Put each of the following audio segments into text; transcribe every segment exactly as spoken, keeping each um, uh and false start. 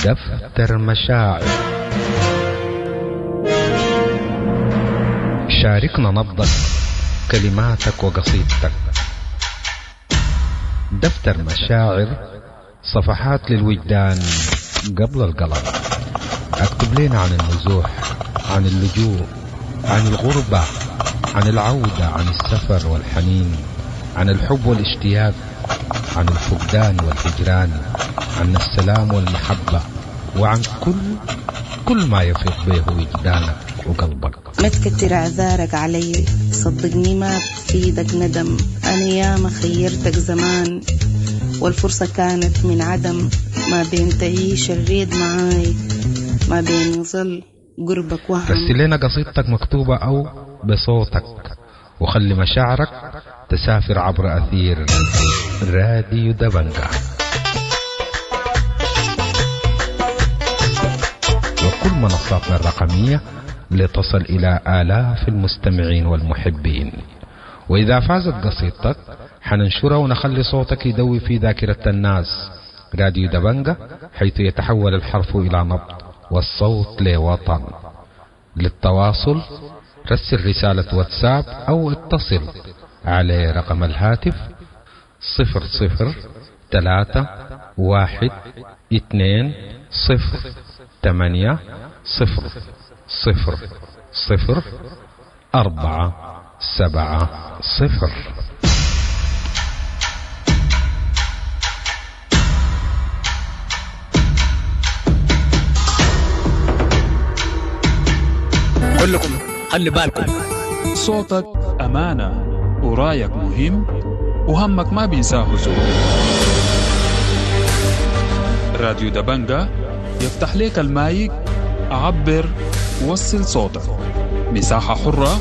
دفتر مشاعر. شاركنا نبضك، كلماتك وقصيدتك. دفتر مشاعر، صفحات للوجدان قبل القلم. اكتب لنا عن النزوح، عن اللجوء، عن الغربة، عن العودة، عن السفر والحنين، عن الحب والاشتياق، عن الفقدان والهجران، عن السلام والمحبة، وعن كل كل ما يفيض به وجدانك وقلبك. ما تكتر اعذارك علي، صدقني ما بفيدك ندم. انا ياما خيرتك زمان والفرصة كانت من عدم. ما بين تعيش الريد معاي، ما بين يظل قربك وهم. رسل لنا قصيدتك مكتوبة أو بصوتك، وخلي مشاعرك تسافر عبر أثير راديو دبنجة وكل منصاتنا الرقمية لتصل إلى آلاف المستمعين والمحبين. وإذا فازت قصيدتك حننشرها ونخلي صوتك يدوي في ذاكرة الناس. راديو دبنجة، حيث يتحول الحرف إلى نبض والصوت لوطن. للتواصل رسل رسالة واتساب أو اتصل على رقم الهاتف صفر صفر ثلاثة واحد اثنين صفر ثمانية صفر صفر صفر أربعة سبعة صفر. كلكم خلي بالكم، صوتك أمانة ورايك مهم وهمك ما بينساه زول. راديو دبنجة يفتح لك المايك، عبر وصل صوتك، مساحة حرة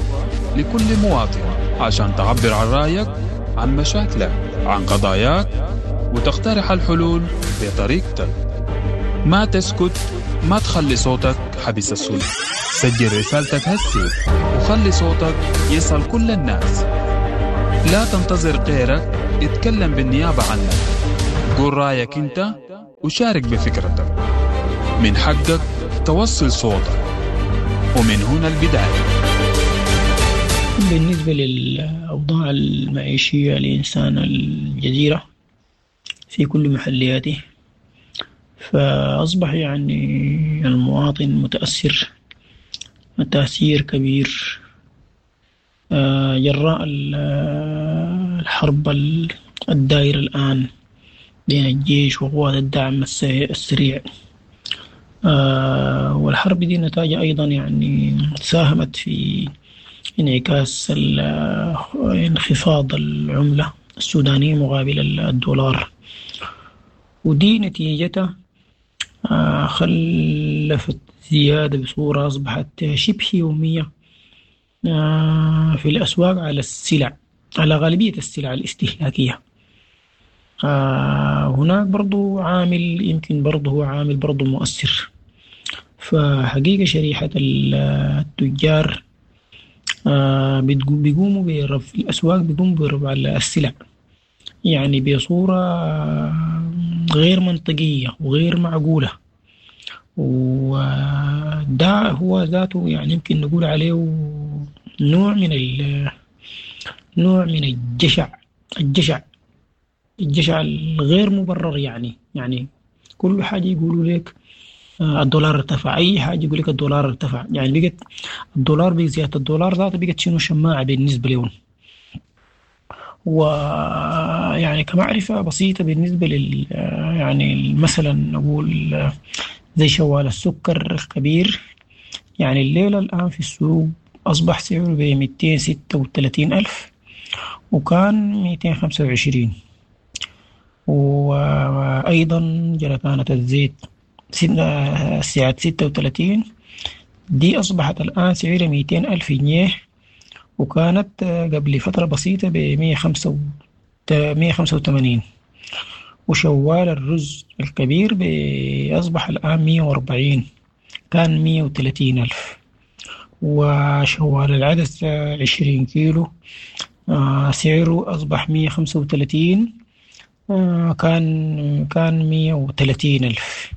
لكل مواطن عشان تعبر عن رأيك، عن مشاكلك، عن قضاياك، وتقترح الحلول بطريقتك. ما تسكت، ما تخلي صوتك حبس السلطة. سجل رسالتك هسي وخلي صوتك يصل كل الناس. لا تنتظر غيرك يتكلم بالنيابة عنك. قول رأيك انت وشارك بفكرتك. من حقك توصل صوتك، ومن هنا البداية. بالنسبة للأوضاع المعيشية لإنسان الجزيرة في كل محلياته، فأصبح يعني المواطن متأثر تأثير كبير جراء الحرب الدائرة الآن بين الجيش وقوات الدعم السريع. والحرب دي نتاجها أيضا يعني ساهمت في انعكاس انخفاض العملة السودانية مقابل الدولار، ودي نتيجتها خلفت زيادة بصورة أصبحت شبه يومية في الأسواق على السلع، على غالبية السلع الاستهلاكية. هناك برضو عامل يمكن برضو هو عامل برضو مؤثر. فحقيقة شريحة التجار بيقوموا برفع الأسواق، بيقوموا برفع السلع يعني بصورة غير منطقية وغير معقولة، وده هو ذاته يعني يمكن نقول عليه نوع من ال نوع من الجشع الجشع الجشع الغير مبرر. يعني يعني كل حاجة يقولوا لك الدولار ارتفع، أي حاجة يقول لك الدولار ارتفع، يعني بقت الدولار بزيادة الدولار ذاته بقت شنو شماعة بالنسبة لهم. ويعني كمعرفة بسيطة بالنسبة لل يعني مثلا نقول زي شوال السكر الكبير، يعني الليلة الآن في السوق أصبح سعره ب مئتين وستة وثلاثين ألف وكان مئتين وخمسة وعشرين. وأيضا جركانة الزيت سعة ستة وثلاثين دي أصبحت الآن سعرها مئتين ألف جنيه، وكانت قبل فترة بسيطة ب مئة وخمسة وثمانين. وشوال الرز الكبير أصبح الآن مئة وأربعين، كان مئة وثلاثين ألف. وشوال العدس عشرين كيلو سعره أصبح مئة وخمسة وثلاثين، كان كان مئة وثلاثين ألف.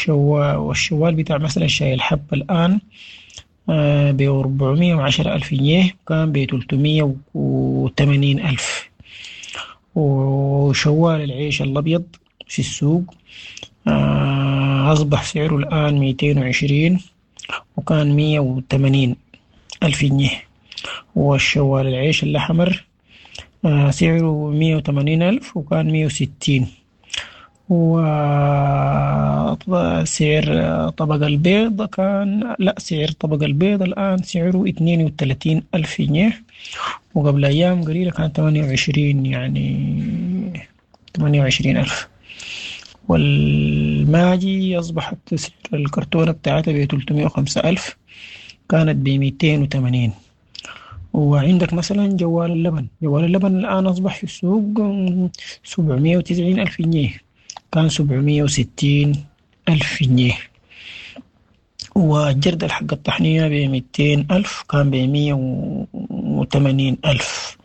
والشوال بتاع مثلا شاي الحب الآن بي اربعمية وعشرة الف جنيه كان بي تلتمية وتمانين الف، وشوال العيش الابيض في السوق اصبح سعره الان متين وعشرين وكان مية وتمانين الف جنيه، وشوال العيش اللحمر سعره مية وتمانين الف وكان مية وستين، وسعر طبق البيض كان لا سعر طبق البيض الآن سعره اتنين وتلاتين ألف جنيه، وقبل أيام قليلة كان تمانية وعشرين يعني تمانية وعشرين ألف. والماجي أصبحت سعر الكرتونة بتاعتها بتلتمية وخمسة ألف، كانت بميتين وتمانين. وعندك مثلا جوال اللبن، جوال اللبن الآن أصبح في السوق سبعمية وتسعين ألف جنيه، كان سبعمية وستين ألف جنيه. والجردل حق الطحنية بميتين ألف، كان بمية وتمانين ألف.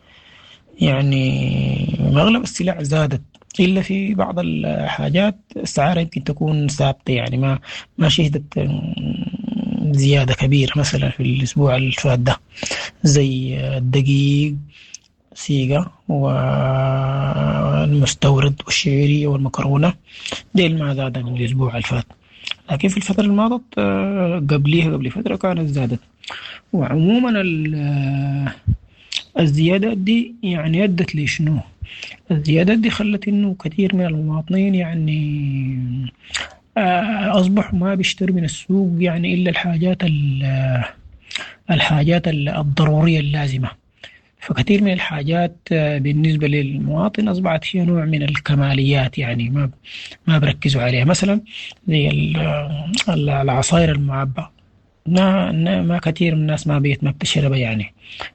يعني أغلب السلع زادت، إلا في بعض الحاجات السعر يمكن تكون ثابتة، يعني ما ما شهدت زيادة كبيرة مثلا في الأسبوع الفات ده، زي الدقيق سيجا والمستورد والشعيرية والمكرونة، ديل ما زاد من الأسبوع الفات، لكن في الفترة الماضية قبليها قبل فترة كانت زادت. وعموما الزيادات دي يعني أدت لشنو؟ الزيادات دي خلت إنه كثير من المواطنين يعني أصبحوا ما بيشتروا من السوق يعني إلا الحاجات الحاجات الضرورية اللازمة. فكثير من الحاجات بالنسبة للمواطن أصبحت هي نوع من الكماليات، يعني ما ما بركزوا عليها. مثلا زي العصائر المعبأة، ما ما كثير من الناس ما بيت ما بتشربها، يعني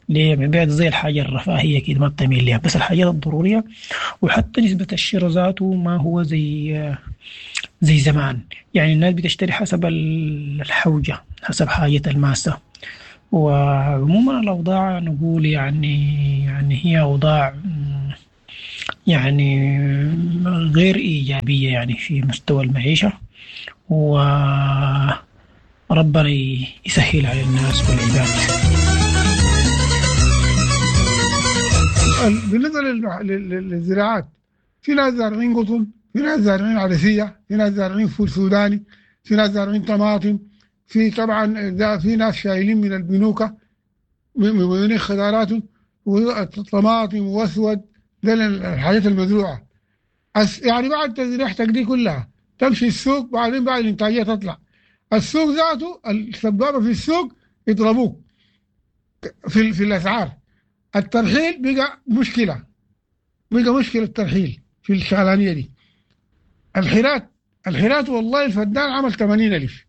ليه؟ بيت زي الحاجة الرفاهية كده ما بتميل لها، بس الحاجات الضرورية. وحتى نسبة الشراء ذاته ما هو زي زي زمان، يعني الناس بتشتري حسب الحوجة، حسب حاجة الماسة. وعموما الأوضاع نقول يعني يعني هي أوضاع يعني غير إيجابية يعني في مستوى المعيشة، وربنا يسهل على الناس والعباد. بالنسبة للزراعات، في ناس زارعين قطن، في ناس زارعين عدسية، في ناس زارعين فول سوداني، في ناس زارعين طماطم، في طبعا في ناس شايلين من البنوكة مبينين خضاراتهم وطماطم واسود، ده الحاجات المزروعة. يعني بعد تزريحتك دي كلها تمشي السوق، بعدين بعد الانتاجية تطلع السوق ذاته السبابة في السوق يضربوك في في الأسعار. الترحيل بقى مشكلة، بقى مشكلة الترحيل في الشغلانية دي. الحرات الحرات والله الفدان عمل ثمانين ألف،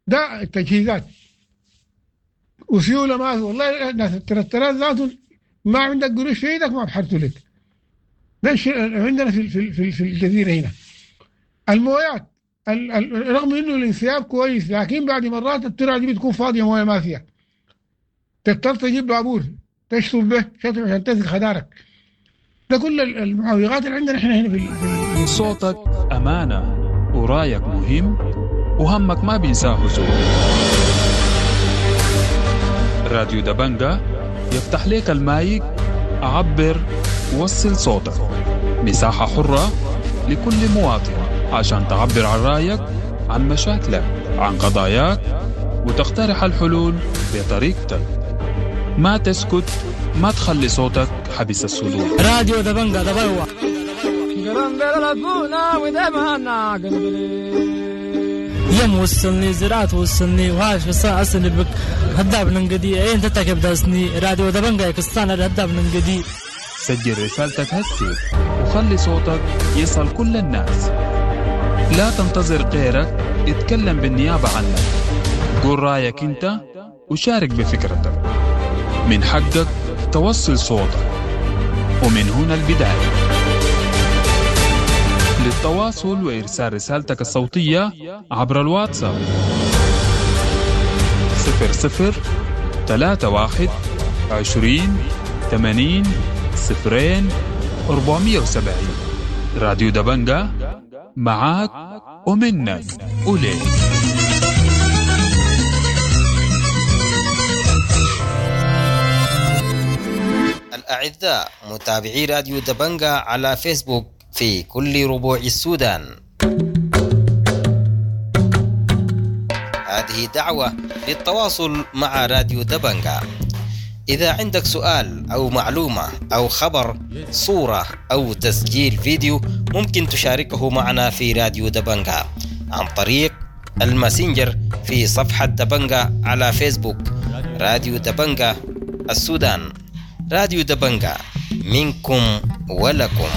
ده التجهيزات وسيولة ما والله الناس الترترات ذاته ما عندك قروش في ايدك ما بحرتوا لك. ده عندنا في في في, في الجزيرة هنا. المويات ال ال رغم انه الانسياب كويس، لكن بعد مرات الترعة دي بتكون فاضية مويه ما فيها، تضطر تجيب بابور تشطب به شطب عشان تسقي خدارك. ده كل المعوقات اللي عندنا احنا هنا في, في صوتك أمانة ورايك مهم وهمك ما بينساه زول. راديو دبنجة يفتح لك المايك، عبر وصل صوتك، مساحة حرة لكل مواطن عشان تعبر عن رأيك، عن مشاكلك، عن قضاياك، وتقترح الحلول بطريقتك. ما تسكت، ما تخلي صوتك حبس الصدور. راديو دبنجة دبنجة يم وصلني زراعة وصلني وهاش بس أسني بك هداب ننقدي أين تتكب داسني راديو دبنجة كستانا هداب ننقدي. سجل رسالتك هسي وخلي صوتك يصل كل الناس. لا تنتظر غيرك يتكلم بالنيابة عنك، قول رأيك أنت وشارك بفكرتك. من حقك توصل صوتك، ومن هنا البداية. للتواصل وإرسال رسالتك الصوتية عبر الواتساب صفر صفر ثلاثة واحد عشرين ثمانين صفرين أربعمية وسبعين. راديو دبنجة معاك ومنك وليك. الأعزاء متابعي راديو دبنجا على فيسبوك في كل ربوع السودان، هذه دعوة للتواصل مع راديو دبنجا. إذا عندك سؤال أو معلومة أو خبر، صورة أو تسجيل فيديو، ممكن تشاركه معنا في راديو دبنجا عن طريق الماسنجر في صفحة دبنجا على فيسبوك. راديو دبنجا السودان، راديو دبنجا منكم ولكم.